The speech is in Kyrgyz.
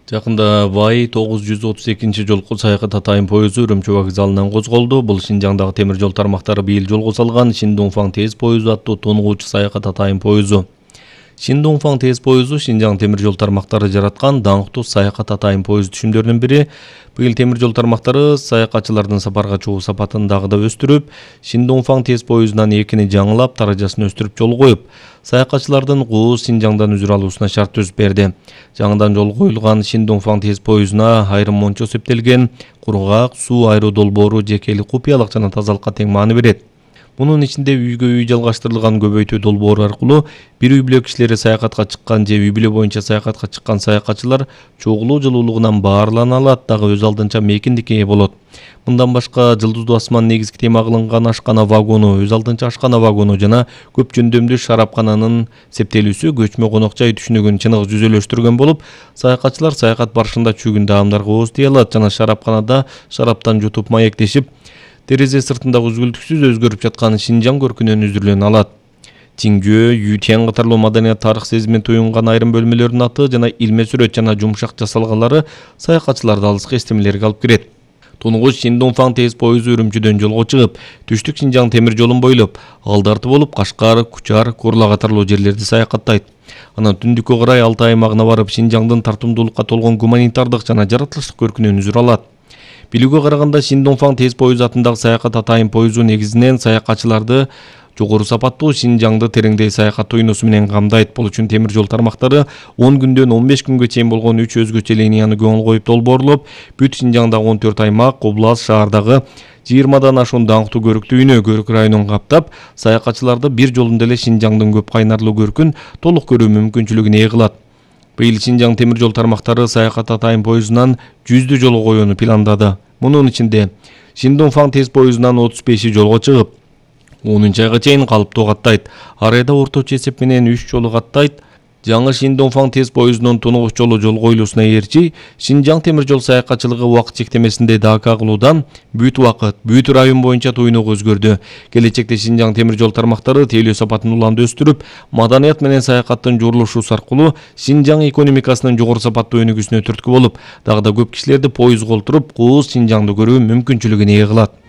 Жакында Вай 932-жолку саякат атайын поезду Үрүмчү вокзалынан козголду. Бул Шинжаңдагы темир жол тармактары быйыл жолго салган Шиндунфаң тез поезду аттуу тонугуучу саякат атайын поезду. Шиндунфаң тез поезду Шинжаң темир жол тармактары жараткан даңктуу саякат атайын поезд түшүмдөрүнүн бири. Быйыл темир жол тармактары саякатчылардын сапарга чыгуу сапатын дагы да өстүрүп, Шиндунфаң тез поездунан экини жаңылап, даражасын өстүрүп жол коюп, саякатчылардын кууз Шинжаңдан үзүр алуусуна шарт түзүп берди. Жаңыдан жол коюлган Шиндунфаң тез поездуна айрым мончо септелген, кургак, суу айыруу долбоору жекелик купуялык жана тазалыкка тең маани берет. Мунун ичинде үйгө үй жалгаштырылган көбөйтүү долбоору аркылуу бир үй бүлө кишилери саякатка чыккан же үй бүлө боюнча саякатка чыккан саякатчылар чогулуу жылуулугунан баарлана алат, дагы өз алдынча мейкиндикке ээ болот. Мындан башка Жылдыздуу асман негизги тема кылынган ашкана вагону, өз алдынча ашкана вагону жана көп жөндөмдүү шарапкананын септелүүсү көчмө конок жай түшүнүгүн чыныгы жүзөлөштүргөн болуп, саякатчылар саякат барышында чүйгүн даамдарга ооз тие алат жана шарапканада шараптан жутуп маектешип, терезе сыртындагы үзгүлтүксүз өзгөрүп жаткан Шинжаң көркүнөн үзүрлөнө алат. Тиңжөө, Ютян катарлуу маданият тарых сезимин туюнган айрым бөлмөлөрдүн аты жана илме сүрөт жана жумшак жасалгалары саякатчыларды алыскы эстемелерге алып кирет. Тунугуч Шиндунфаң тез поезду Үрүмчүдөн жолго чыгып, түштүк Шинжаң темир жолун бойлоп, алдарты болуп Кашкар, Кучар, Корла катарлуу жерлерди саякаттайт. Анан түндүккө карай Алтай аймагына барып, Шинжаңдын тартымдуулукка толгон гуманитардык жана жаратылыштык көркүнөн үзүр алат. Билүүгө караганда Шиндунфаң тез поезду атындагы саякат атайын поезду негизинен саякатчыларды жогору сапаттуу Шинжаңды тереңдей саякаттоо уйносу менен камдайт. Бул үчүн темир жол тармактары 10 күндөн 15 күнгө чейин болгон 3 өзгөчө линияны көңүл коюп долбоорлоп, бүт Шинжаңдагы 14 аймак, област, шаардагы 20дан ашуун даңктуу көрүктүү үйнө, көрүк районун каптап, саякатчыларды бир жолунда эле Шинжаңдын көп кайнарлуу көркүн толук көрүү мүмкүнчүлүгүн ээ кылат. Быйыл Шинжаң темир жол тармактары саякат атайын поездунан 100 жол коюуну пландады. Мунун ичинде Шиндунфаң тез поездунан 35 жолго чыгып, 10 айга чейин калыптуу каттайт. Ар айда орточо эсеп менен 3 жолу каттайт. Жаңы Шиндунфаң тез поездунун тунугуч жолу жол коюлуусуна ээрчи, Шинжаң темир жол саякатчылыгы убакыт чектемесинде ДК кылуудан бүт убакыт, бүт район боюнча туйнук өзгөрдү. Келечекте Шинжаң темир жол тармактары тейлөө сапатын уланды өстүрүп, маданият менен саякаттын журулушуусу аркылуу Шинжаң экономикасынын жогору сапаттуу өнүгүүсүнө түрткү болуп, дагы да көп кишилерди поездго олтуруп, кууз Шинжаңды көрүү мүмкүнчүлүгүн ээ кылат.